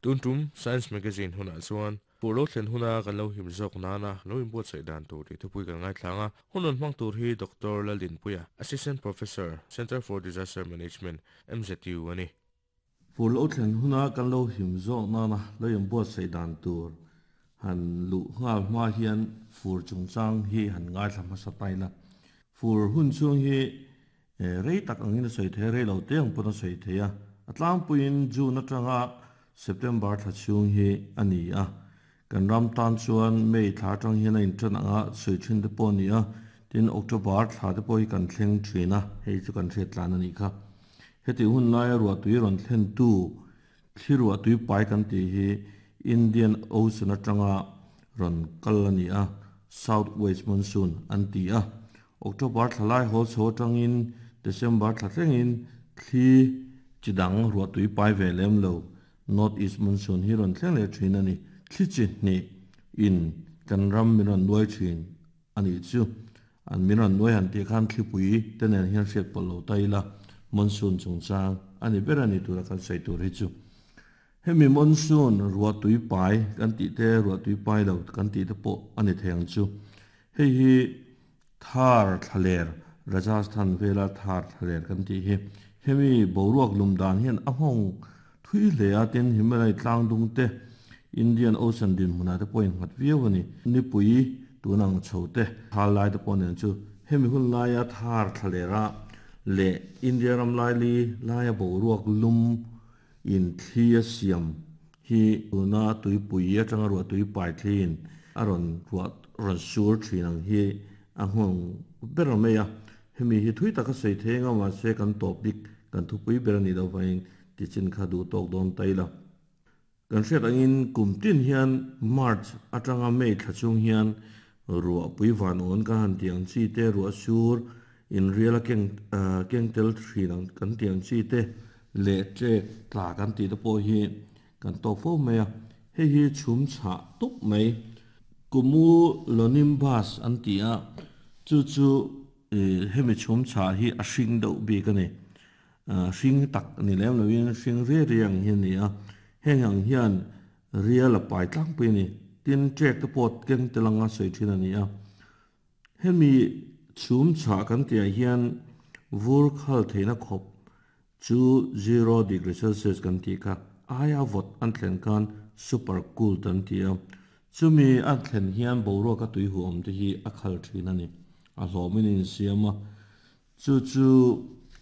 Tun tum Science Magazine hunah chuan Fur lo thlen huna kan lo him zawk nana lo inbuatsaih dan tur tih thupui kan ngaithlang a, hun rawn hmang tur hi Doctor Laldinpuia, Assistant Professor, Centre for Disaster Management, MZU a ni. Fur lo thlen huna kan lo him zawk nana lo inbuatsaih dan tur han luh nghal hma hian fur chungchang hi han ngaithla hmasa ta ila. Fur hun chhung hi rei tak angin a sawi thei a, rei lo te ang pawn a sawi thei a. A tlangpuiin June atanga September thla chhung hi a ni a. Kan ram tan chuan May thla atang hian a intan anga sawi thin te pawh a ni a, tin October thla te pawh hi kan thleng thin a, hei chu kan hriat tlan a nih kha. Heti hun laia ruahtui rawn thlentu thli ruahtui pai kan tih hi Indian Ocean atanga rawn kal a ni a, South West Monsoon an ti a. October thla lai hawl chho atangin December thla thlengin thli chi dang ruahtui pai ve lem lo North East Monsoon hi rawn thleng leh thin a ni. Thli chi hnih in kan ram min rawn nuai thin a nih chu. An min rawn nuai han tih khan thlipui te nen hian hriat pawlh lo ta ila monsoon chungchang a ni ber a ni tura kan sawi tur hi chu. Hemi monsoon ruahtui pai kan tih te ruahtui pai lo kan tih te pawh a ni thei ang chu. Hei hi Thar thlaler, Rajasthan vela Thar thlaler kan tih hi hemi boruak lum dan hian a nghawng thui hle a, tin Himalaya tlang dung te, Indian Ocean dinhmunah te pawh innghat viau a ni. Nipui tun ang chho te, thal lai te pawh nen chu hemi hun laia Thar thlalera leh India ram laili laia boruak lum in thli a siam hi tuna tuipui atanga ruah tui pai thliin a rawn ruah rawn sur thin ang hi a nghawng ber mai a. Hemi hi thui taka sawi thei anga mahse kan topic kan thupui ber a nih loh vangin tichin kha duh tawk dawn ta ila. Kan hriat angin kum tin hian March atanga May thla chung hian ruah pui van awn kan han tih ang chi te, ruah sur in rial a keng keng tel thin ang kan tih ang chi te leh ṭek tla kan tih te pawh hi kan tawk fo mai a, hei hi chhum chhah tawp mai. Cumulonimbus an ti a, chu chu hemi chhum chhah hi a hring deuh bik a ni. Hring tak ni lem loin hring riai riai ang hi a ni a, heng ang hian rial a pai tlangpui a ni. Tin, ṭek te pawh keng tel anga sawi thin a ni a. Hemi chhum chhah kan tihah hian vur khal theihna khawp chu zero degree celsius kan tih kha aia vawt an thlen khan super cooled an ti a. Chumi a thlen hian boruaka tui huam te hi a khal thin a ni. A hlawmin a insiam a. Chu chu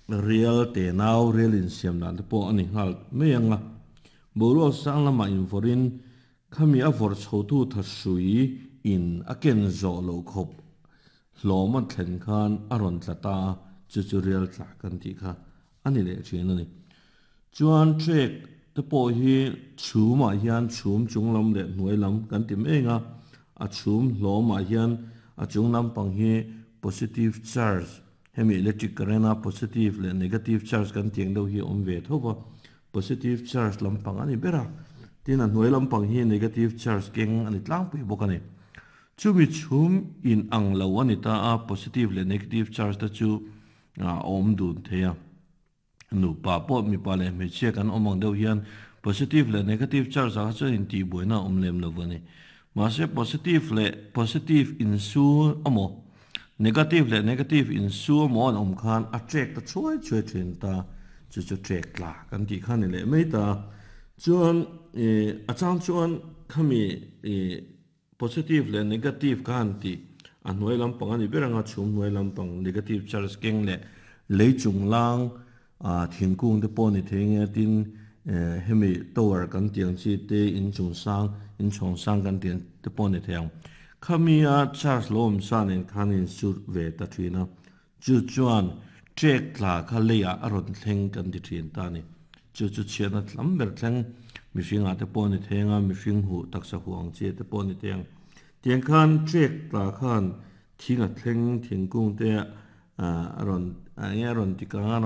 rial tenau rial insiam dan te pawh a ni nghal mai ang a. Boruak sang lamah invawrhin Khami a vawrh chhotu thahrui in a ken zawh loh khawp hlawm a thlen khan a rawn tla ta a, chu chu rial tla kan tih kha a ni leh thin a ni. Chuan trek te pawh hi chhumah hian chhum chung lam leh hnuai lam kan ti mek a, a chhum hlawmah hian a chung lampang hi positive charge, hemi electric current a positive leh negative charge kan tih ang deuh hi a awm ve tho va, Positive charge lampang a ni ber a, tin a hnuai lampang hi negative charge keng a ni tlangpui bawk a ni. Chumi chhum in ang lo a ni ta a, positive leh negative charge te chu a awm dun thei a. Nupa pawh mipa leh hmeichhia kan awm ang deuh hian positive leh negative charge ah kha chuan intihbuaina a awm lem lo a ni. Mahse positive leh positive insu amaw, negative leh negative insu amaw an awm khan a trek ta chhuai chhuai thin ta, chu chu trek tla kan tih kha ni leh mai ta. Chuan ih a chang chuan khami ih positive leh negative kha han tih a hnuai lampang a ni ber anga chhum hnuai lampang negative charge keng leh lei chunglang Ah thingkung te pawh ni thei nge tin eh hemi tower kan tih ang chi te in chung sang in chhawng sang kan tih ang te pawh ni thei ang. Khami a charge lo awm sa nen khan in sur ve ta thin a, chu chuan trek tla kha leiah a rawn thleng kan ti thin ta a ni. Chu chu chhiatna tlam ber thleng mihring ah te pawh ni thei anga mihring huh taksa huh ang chi te pawh ni thei ang. Tiang khan trek tla khan thing a thleng thingkung te ah a rawn eng nge a rawn ti kang a rawn.